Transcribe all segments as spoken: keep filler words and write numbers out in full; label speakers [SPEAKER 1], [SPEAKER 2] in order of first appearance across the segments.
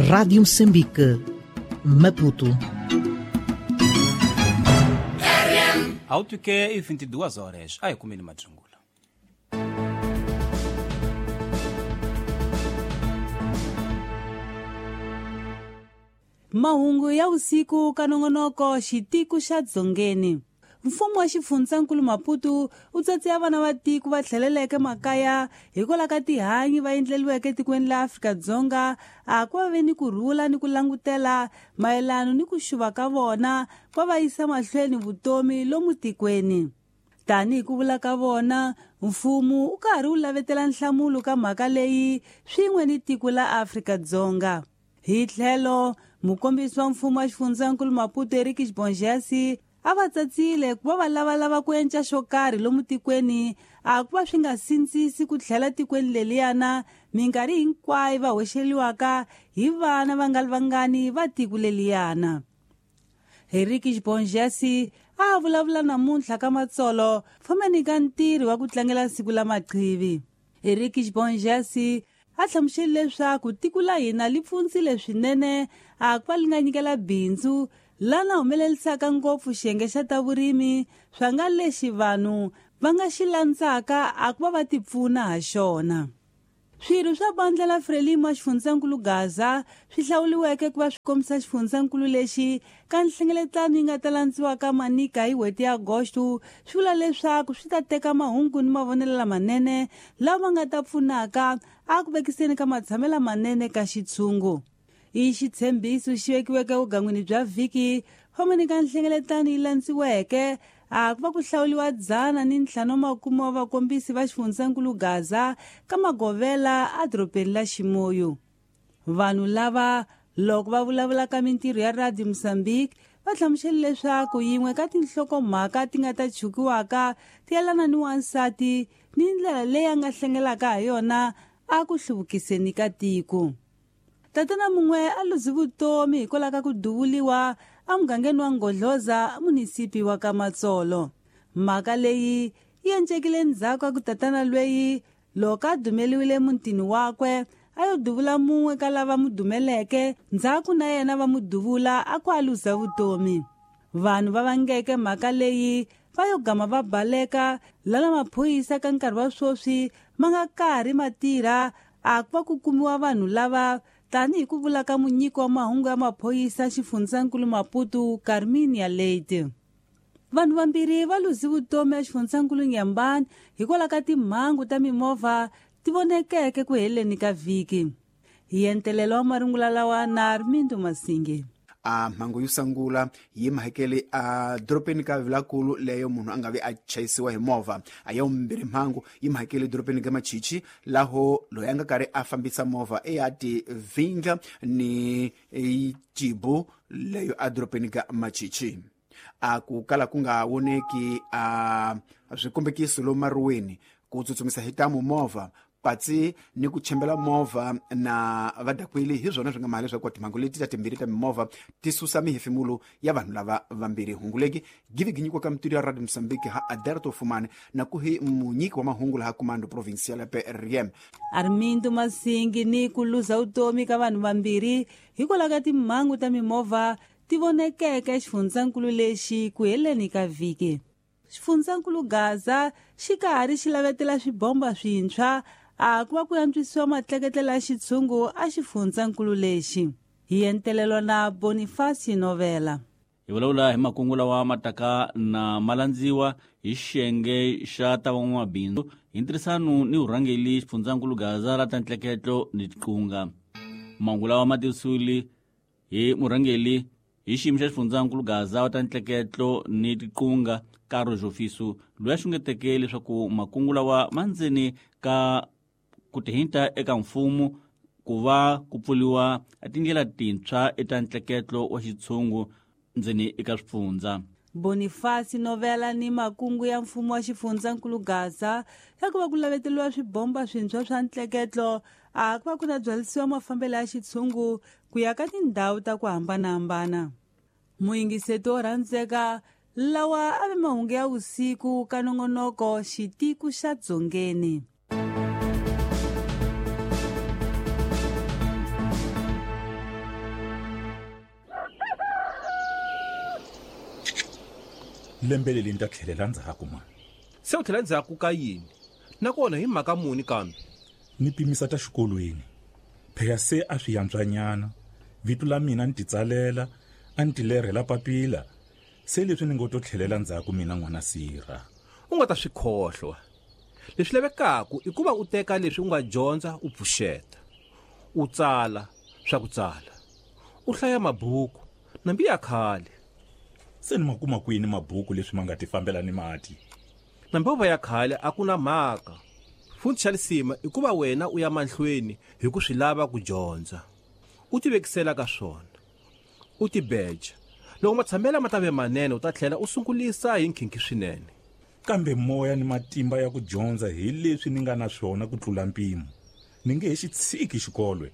[SPEAKER 1] Rádio Moçambique, Maputo.
[SPEAKER 2] Autuke e vinte e duas horas. Ai, comendo madrungula.
[SPEAKER 3] Mahungu ya usiku kanongonoko xitiko xa dzongeni. Mfumo wa xifundzankulu Maputo wu tsatse vana va tiko va tlheleleke makaya hikwalaho ka tihanyi va endleliweke etikweni la Afrika-Dzonga a ku va ve ni ku rhula ni ku langutela mayelano ni ku xuva ka vona va va yisa mahlweni vutomi lomu tikweni. Tanihi ku vula ka vona, mfumo wu karhi wu lavetela nhlamulo ka mhaka leyi swin'we ni tiko la Afrika-Dzonga. Hi tlhelo, mukombisi wa mfumo wa xifundzankulu Maputo Eric Xibonjasi a va tsatsile ku va va lavalava ku enca xo karhi lomu tikweni a ku va swi nga sindzisi ku tlhela tikweni leliyana minkarhi hinkwayo va hoxeliwaka hi vana va nga ri vangani va tiko leliyana. Eric Xibonjasi a vulavula namuntlha ka Matsolo fambeni ka ntirho wa ku tlangela siku la maqhivi. Eric Xibonjasi a hlamusele leswaku tiko la hina li pfundzile swinene a ku va li nga nyikela bindzu lana humelelisaka ngopfu xiyenge xa ta vurimi swa nga lexi vanhu va nga xi landzaka a ku va va tipfuna ha xona. Swirho swa bandla la Frelimo xifundzankulu Gaza swi hlawuliweke ku va swi kombisa xifundzankulu lexi ka nhlengeletano yi nga ta landziwaka Manika hi n'hweti ya Agosto swi vula leswaku swi ta teka mahungu ni mavonelo lamanene lama nga ta pfunaka a ku vekiseni ka matshamelo lamanene ka xitshungu. I xitshembiso xi vekiweke vugangwini bya vhiki fambeni ka nhlengeletano yi landziweke a ku va ku hlawuliwa dzana ni ntlhanu makume wa vakombisi va xifundzankulu Gaza ka magovela edorobeni la Ximoyo. Vanhu lava loko va vulavula ka mintirho ya Radio Mozambique va hlamusele leswaku yin'we ka tinhlokomhaka ti nga ta chukiwaka ti yelana ni wansati ni ndlela leyi a nga hlengelaka ha yona a ku hluvukiseni ka tiko. Tatana mun'we a luzi vutomi hikwalaho ka ku duvuliwa emugangeni wa Ngodloza munisipi wa ka Matsolo. Mhaka leyi yi encekile ndzhaku ka ku tatana lweyi loko a dumeliwile mutini wakwe a yo duvula mun'we ka lava mu dumeleke ndzhaku na yena va mu duvula a ku a luza vutomi. Vanhu va vangeke mhaka leyi va yo gama va baleka lana maphorisa ka nkarhi wa sweswi ma nga karhi ma tirha a ku va ku kumiwa vanhu lava tanihi ku vula ka munyiki wa mahungu ya maphorisa xifundzankulu Maputo Carminia Leite. Vanhu vambirhi va luzi vutomi exifundzankulu Nyambani hikwalaho ka timhangu ta mimovha ti vonekeke ku heleni ka vhiki. Hi entelelo wa marungula lawa na Armindo Masinge.
[SPEAKER 4] A mhangu yo sungula yi mahekele a dorobeni ka Vilakulu leyo munhu a nga vi a chayisiwa hi movha. A ya vumbirhi mhangu yi mahekele dorobeni ka Machichi laho loyi a nga karhi a fambisa movha e ya ti vindla ni jibu leyo a dorobeni ka Machichi. A ku kala ku nga voneki a swikombekiso lomu maruweni ku tsutsumisa hi tamu movha patsi ni ku chembela movha na vadakweli hi swona swi nga mali leswaku timhangu leti ta timbirhi ta mimovha ti susa mihefemulo ya vanhu lava vambirhi. Hunguleki give ginyikiwa ka mutiri ya Radio Mozambique ha Aderto Fumane na ku hi munyiki wa mahungu laha Comando Provincial ya P R M.
[SPEAKER 3] Armindo Masingi ni ku luza vutomi ka vanhu vambirhi hikwalaho ka timhangu ta mimovha ti vonekeke exifundzankulu lexi ku heleni ka vhiki. Xifundzankulu Gaza xi karhi xi lavetela swibomba swintshwa a ku va ku antswisiwa matleketlela ya xitshungu a xifundzankulu lexi. Hi entelelo na Boniface Novela.
[SPEAKER 5] Hi vulavula hi makungu lawa ma taka na malandziwa hi xiyenge xa ta van'wamabindzu hi ntirhisano ni vurhangeri xifundzankulu Gaza ra ta ntleketlo ni tiqunga. Mahungu lawa ma tivisiwile hi murhangeri hi xiyimo xa xifundzankulu Gaza wa ta ntleketlo ni tiqunga Karo Jofiso loyi a xungeteke leswaku makungu lawa ma ndzeni ka ku tihinta eka mfumo ku va ku pfuriwa tindlela tintshwa eta ntleketlo wa xitshungu ndzeni eka swifundza.
[SPEAKER 3] Boniface Novela ni makungu ya mfumo wa xifundzankulu Gaza ya ku va ku laveteriwa swibomba swintshwa swa ntleketlo a ku va ku na byalisiwa mafambelo ya xitshungu ku ya ka tindhawu ta ku hambanahambana. Muyingiseti wo rhandzeka lawa a ve mahungu ya vusiku ka nongonoko xitiko xa dzongeni.
[SPEAKER 6] Lembe leri ni ta tlhelela ndzhaku mani.
[SPEAKER 7] Se u tlhela ndzhaku ka yini? Nakona hi mhaka muni kambe?
[SPEAKER 6] Ni pimisa ta xikolweni. Phela se a swi yantswanyana. Vito la mina ni titsalela, a ni tilerhela papila. Se leswi ni ngo to tlhelela ndzhaku mina n'wana sirha.
[SPEAKER 7] U nga ta swi khohlwa. Leswi lavekaka i ku va u teka leswi u nga dyondza u pfuxeta. U tsala swa ku tsala. U hlaya mabuku nambi ya khale.
[SPEAKER 6] Se ni ma kuma kwini mabuku leswi ma nga ti fambela ni mati?
[SPEAKER 7] Nambi va ya khale a ku na mhaka. Futhi xa lisima i ku va wena u ya mahlweni hi ku swi lava ku dyondza. U tivekisela ka swona. U tibeja. Loko matshambela ma ta ve manene u ta tlhela u sungulisa hi nkhinkhi swinene.
[SPEAKER 6] Kambe moya ni matimba ya ku dyondza hi leswi ni nga na swona ku tlula mpimo. Ni nge he xi tshiki xikolwe.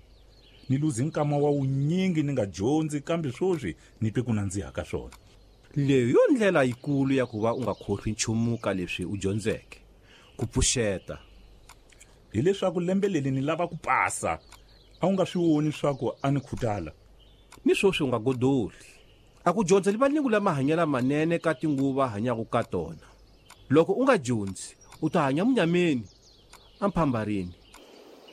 [SPEAKER 6] Ni luzi nkama wa wunyingi ni nga dyondzi kambe swoswi ni twe ku nandziha ka swona.
[SPEAKER 7] Leyi yo ndlela yikulu ya ku va u nga khohlwi nchumu ka leswi u dyondzeke. Ku pfuxeta.
[SPEAKER 6] Hileswaku lembe leri ni lava ku pasa. A wu nga swi voni swa ku a ni khutala.
[SPEAKER 7] Ni swoswi u nga godoli. A ku dyondzeli valingu lama hanyela manene ka tinguva hanyaka ka tona. Loko u nga dyondzi, u ta hanya munyameni, amphambarini.